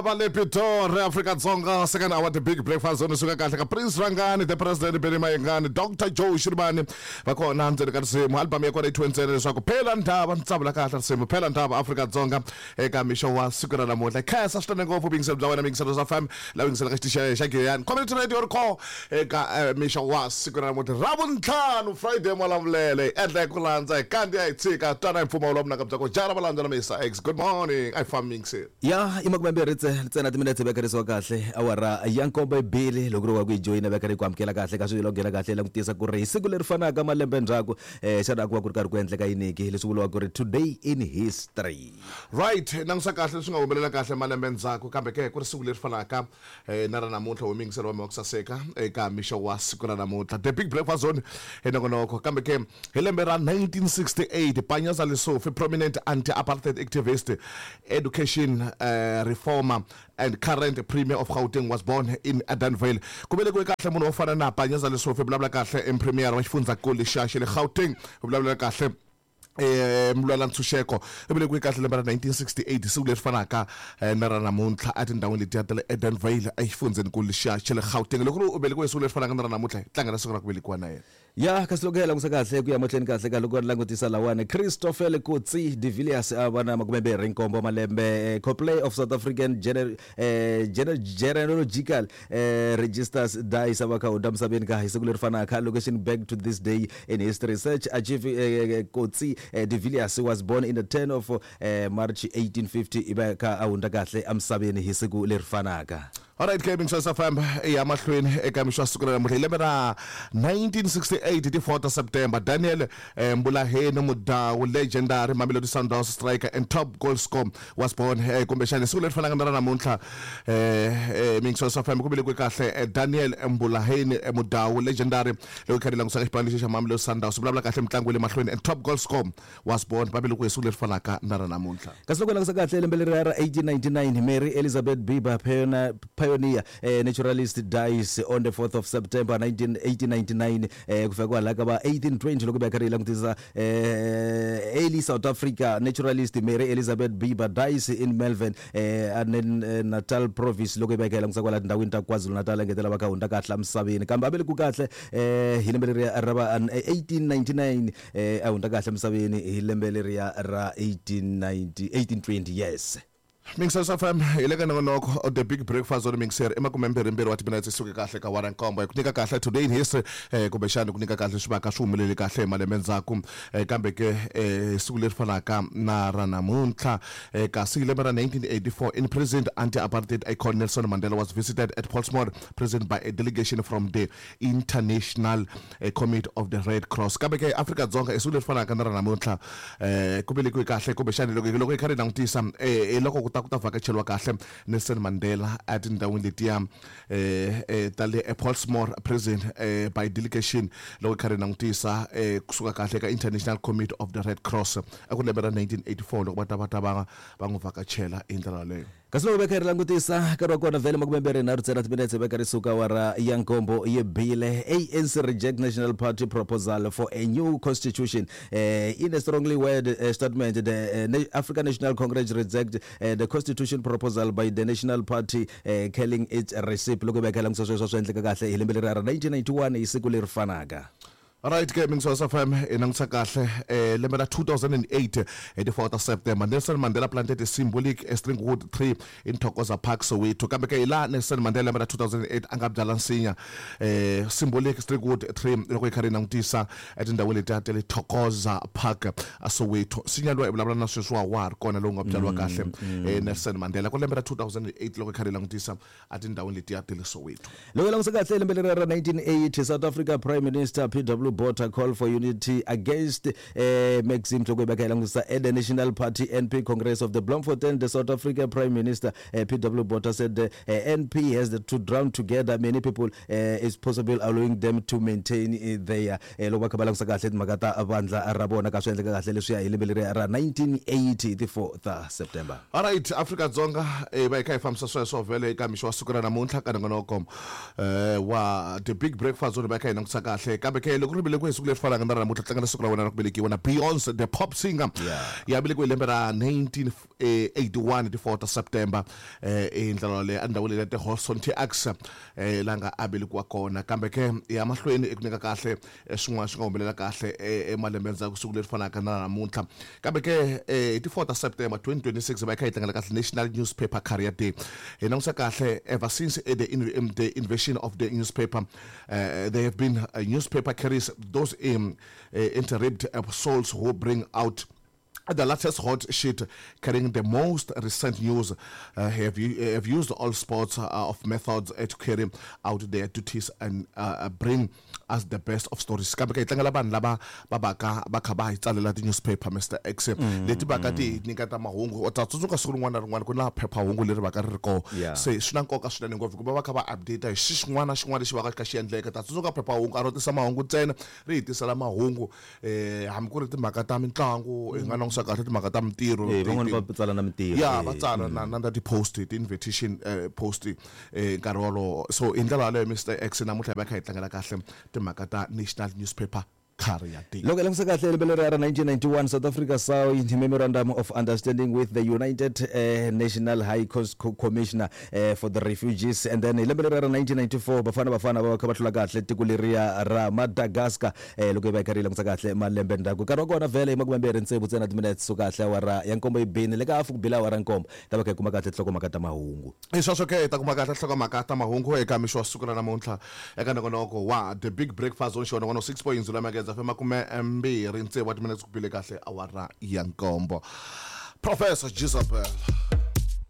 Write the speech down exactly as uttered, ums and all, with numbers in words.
Va le Pitori, Afrika-Dzonga, second hour, The Big Breakfast Zone. Suka kahle ka Prince Rangani, the President Benny Mayengani, Doctor Joe Shirimani va kona ndzeni ka risimu. Album ya kona yi thyiwe ntsena leswaku Phela Ndhava. Ntsavula kahle risimu Phela Ndhava, Afrika-Dzonga, eka mixo wa siku ra namuntlha. Khensa swinene ngopfu vuyingiselo bya wena, miyingiselo swa fm la yingiselaka xitichi xa Giyani Community Radio Riko eka eh, mixo wa siku ra namuntlha, Ravuntlhanu, Friday. Malamulele endla hi ku landza hi kandziya hi tshika twana hi mpfumawulo wa vunanga bya ku jara valandza na Misa X. Good morning, a hi fambi miyingiselo. Ya, i makumembirhi tse ntsena timinetse vekeriwa kahle awara ya nkombo ibili. Loko ri wa ku yi joyina, veka ri ku amukela kahle ka swilo nghena kahle langutisa ku ri hi siku leri fanaka malembe ndzhaku, um xana ku va ku ri karhi ku endleka yiniki, leswi vuriwaka ku ri today in history? Right, langusa kahle leswi nga humelela kahle malembe ndzhaku, kambe ke ku ri siku leri fanaka eh, na ra namuntlha. Wo miyingiselo wa mina wa ku saseka eka mixo wa siku ra namuntlha, The Big Breakfast Zone hi nongonoko. Kambe ke hi lembe ra nineteen sixty-eight, Panyaza Lesufi, prominent anti-apartheid activist, education uh, reformer and current Premier of Gauteng, was born in Edenvale. Ku velekiwe kahle munhu wo fana na Panyaza Lesufi, vulavula kahle em premier wa xifundzankulu xa xa le Gauteng, vulavula kahle eh mulwela ntshunxeko, i velekiwe kahle lembe ra nineteen sixty-eight, siku leri fanaka eh, na ra namuntlha, etindhawini letiya ta le Edenvale exifundzhenikulu xa xa le Gauteng. Loko ri u velekiwe siku leri fanaka na ra namuntlha, hi tlangela siku ra ku velekiwa na yena. Ya, kasi loko hi langusa kahle ku ya mahlweni kahle ka loko langutisa lawani, Christopher Coetzee de Villiers a va na makumembirhi nkombo malembe, eh, co-play of South African Gener eh, Gener genealogical eh, registers dies, a va kha hundza misaveni ka hi siku leri fanaka. Location back to this day in history search achieve. eh, Coetzee eh, de Villiers was born in the tenth of eh, March eighteen fifty, i va kha a hundza kahle emisaveni hi siku leri fanaka. Alright ke, Mingiswa F M ya mahlweni eka mixo wa siku ra namuntlha. Hi lembe ra nineteen sixty-eight, ti four ta September, Daniel eh, Mbulaheni Mudau, legendary Mamelodi Sundowns striker and top goal scorer, was born. eh, kumbexana siku leri fanaka na ra namuntlha, eh, eh, Mingiswa F M, ku velekiwe kahle eh, Daniel Mbulaheni eh, Mudau, legendary loko kha ri langusaka xipano lexi xa Mamelodi Sundowns, vulavula kahle mitlangu ya le mahlweni and top goal scorer, was born, va velekiwe hi siku leri fanaka na ra namuntlha. Kasi loko hi langusa kahle lembe leri ra eighteen ninety-nine, Mary Elizabeth Bieber, pioneer, pioneer eh, naturalist, dies on the fourth of September nineteen eighteen ninety-nine. eh, ku fika kwalaho ka va eighteen twenty, loko hi karhi hi langutisa eh, early South Africa naturalist Mary Elizabeth Bieber dies in Malvern eh, and then, eh, Natal province, loko hi va hi kha hi langusa kwala tindhawini ta KwaZulu Natal, engetela va kha hundza kahle emisaveni. Kambe a velekiwe kahle eh, hi lembe leriya ra va eighteen ninety-nine, eh, a hundza kahle emisaveni hi lembe leriya ra eighteen ninety eighteen twenty, yes. Mingiselo F M hi le ka nongonoko The Big Breakfast Zone. Mingiseri i makumembirhimbirhi wa timinetse suke kahle ka wara nkombo. Hi ku nyika kahle today in history, eh, kumbexani ku nyika kahle swi vaka swi humelele kahle hi malembe ndzhaku, eh, kambe ke eh, siku leri fanaka na ra namuntlha. eh, kasi hi lembe ra nineteen eighty-four, imprisoned anti-apartheid icon Nelson Mandela was visited at Pollsmoor Prison by a delegation from the International eh, Committee of the Red Cross. Kambe ke Afrika-Dzonga, i siku leri fanaka na ra namuntlha, eh, ku velekiwe kahle, kumbexani loko loko hi kha ri langutisa, eh, loko ku ta ku ta vhakacheriwa kahle Nelson Mandela etindhawini letiya eh, eh, ta le Pollsmoor Prison eh, by delegation, loko hi kha ri langutisa eh, kusuka kahle ka International Committee of the Red Cross, eku lembe ra nineteen eighty-four, loko va ta va ta va va n'wi vhakachela hi ndlela yaleyo. Kasi loko veka hi ri langutisa nkarhi wa kona vhele makumembirhi nharhu ntsena timinetse veka ri suka wara ya nkombo yi bile. A N C reject National Party proposal for a new constitution. uh, in a strongly worded uh, statement, the uh, African National Congress reject uh, the constitution proposal by the National Party, uh, calling it a recipe. Loko veka hi langutisa sweswo swi endleka kahle hi lembe leri ra nineteen ninety-one hi siku leri fanaka. Alright ke, Mingiswa F M, hi langutisa kahle eh, lembe ra two thousand and eight, hi ti four ta September, Nelson Mandela planted a symbolic stringwood tree in Thokoza Park, Soweto. Kambe ke hi laha Nelson Mandela lembe ra two thousand and eight a nga byala nsinya, eh, symbolic stringwood tree, loko hi kha ri langutisa etindhawini letiya ta le Thokoza Park a Soweto. Nsinya lowu hi vulavula na sweswi wa wa ha ri kona, lowu nga byariwa kahle eh, Nelson Mandela ku lembe ra two thousand and eight, loko hi kha ri langutisa etindhawini letiya ta le Soweto. Loko hi langutisa kahle lembe leri ra nineteen eighty, South Africa Prime Minister P W Botha call for unity against eh, Maxim. Loko hi veka hi langutisa at the National Party, N P, Congress of the Bloemfontein, the South Africa Prime Minister eh, P W Botha said the eh, N P has the, to drown together many people eh, is possible, allowing them to maintain eh, their eh, loko va kha va langutisa kahle timhaka ta vandla ra vona ka swi endleka kahle leswiya hi lembe leri ra nineteen eighty, ti four ta September. Alright, Afrika-Dzonga, eh, va hi kha hi fambisa sweswo vhele eka mixo wa siku ra namuntlha ka nongonoko eh, wa The Big Breakfast Zone, va hi kha hi langutisa kahle. Kambe ke loko ri ri velekiwe hi siku leri fanaka na ra namuntlha tlangela siku ra wena ra ku velekiwa na Beyonce the pop singer ya velekiwe hi lembe ra nineteen eighty-one ti four ta September eh hi ndlela yaleyo endhawini leyi ya ti-Houston T X eh la nga a velekiwa kona. Kambe ke ya mahlweni eku nyika kahle eh, swin'wana swi nga humelela kahle eh, emalembe ndzhaku siku leri fanaka na namuntlha. Kambe ke eh, hi ti four ta September twenty twenty-six va yi kha yi tlangela kahle National Newspaper Carrier Day. Hi langusa kahle, ever since eh, the, in, um, the invasion of the newspaper, uh, there have been uh, newspaper carriers, those um, uh, intrepid uh, souls who bring out the latest hot shit, carrying the most recent news, uh, have, u- have used all sorts uh, of methods uh, to carry out their duties and uh, bring us the best of stories. Kambe ka hi tlangela vanhu lava va vaka va kha va hi tsalela ti-newspaper, Mister X, leti vaka ti hi nyiketa mahungu. U ta tsundzuka siku rin'wana na rin'wana ku na phephahungu leri vaka ri ri kona. Yeah. Se swi na nkoka swinene ngopfu hikuva va kha va update hi xi xin'wana na xin'wana lexi va ka xi kha xi endleka. Ta tsundzuka phephahungu a ro tisa mahungu ntsena, ri hi tisela mahungu um hambi ku ri timhaka ta mitlangu, hi nga langusa kahle timhaka ta mintirho. Eh, ti- van'wani ti- va tsala na mintirho. Ya, eh, va tsala na na na ti-post, ti-invitation eh, post eh, nkarhi wolowo. So hi ndlela yaleyo, Mister X, namuntlha hi va kha hi tlangela kahle timhaka ta National Newspaper Carrier Day. Loko hi langutisa kahle lembe leri ra nineteen ninety-one, South Africa signed memorandum of understanding with the United uh, National High Cos- Co- commissioner uh, for the Refugees. And then hi lembe leri ra nineteen ninety-four, Bafana Bafana va va kha va hlula kahle tiko leriya ra Madagascar. eh, loko hi va hi karhi hi langutisa kahle malembe ndzhaku, nkarhi wa kona vhele hi makumembirhi tsevu ntsena timinete so kahle awara ya nkombo yi bini le ka hafu ku bila awara nkombo, ta va kha hi kuma kahle nhlokomhaka ta mahungu. Hi sweswo ke, hi ta kuma kahle nhlokomhaka ta mahungu eka mixo wa siku ra namuntlha eka nongonoko wa The Big Breakfast on xona one oh six point zero Mageza F M, makume mbirhi tsevu wa timinetse ku bile kahle awara ya nkombo. Professor Jezebel.